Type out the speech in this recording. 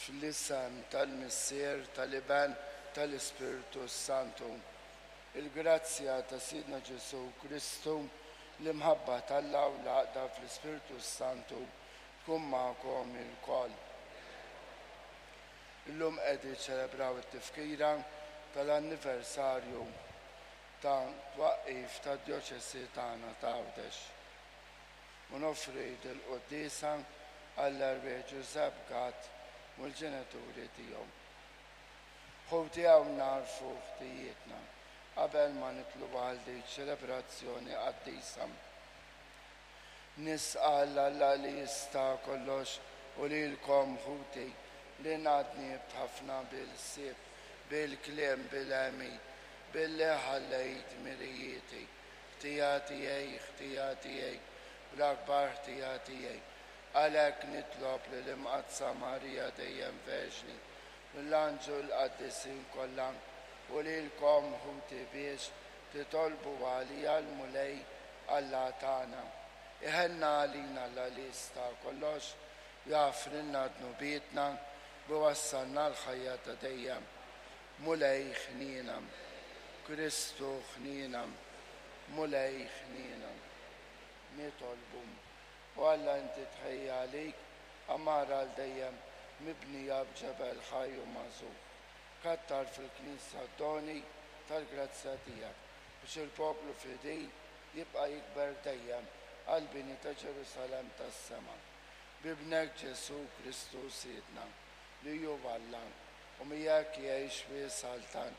Fl-isem tal-Missier, tal-Iben, tal-Ispirtu s-Santu. Il-grazzja ta' Sidna Ġesù Kristu, l-imħabba t'Alla u l-għaqda fl-Ispirtu s-Santu tkun magħkom ilkoll. Illum qed niċċelebraw it-tifkira tal-anniversarju ta' twaqqif tad-Djoċesi tagħna ta' Għawdex. U noffri dil-quddiesa għall-erwieħ Ġużepp Gatt u l-ġenituri tiegħu. Ħuti hawn nagħrfu ħtijietna qabel ma nidħlu għal din ċelebrazzjoni qaddisa. Nisqal Alla li jista' kollox u lilkom ħuti li ngħadnibt ħafna bil-ħsieb, bil-kliem, bil-għemil, billi ħallejt mirijieti. Ħtija tiegħi, ħtija tiegħi, u l-akbar ħtija tiegħi. Għalhekk nitlob lill-Imqaddsa Marija dejjem Verġni, lill-anġlu l-qaddisin kollha, u lilkom ħuti biex titolbu għalija l-Mulej Alla tagħna. Iħenna għalina Alla li jista' kollox, jaħfrilna dnubietna u jwassalna l-ħajja ta' dejjem. Mulej ħniena. Kristu ħniena. Mulej ħniena. Nitolbu. O Alla inti tħejji għalik għamara għal dejjem mibnija b'ġebel ħaj u magħżul. Kattar fil-Knisja d-doni tal-grazzja tiegħek biex il-poplu fidil jibqa' jikber dejjem għall-bini ta' Ġerusalemm tas-sema. B'Ibnek Ġesù Kristu Sidna, li hu Alla, u miegħek jgħix u jsaltan.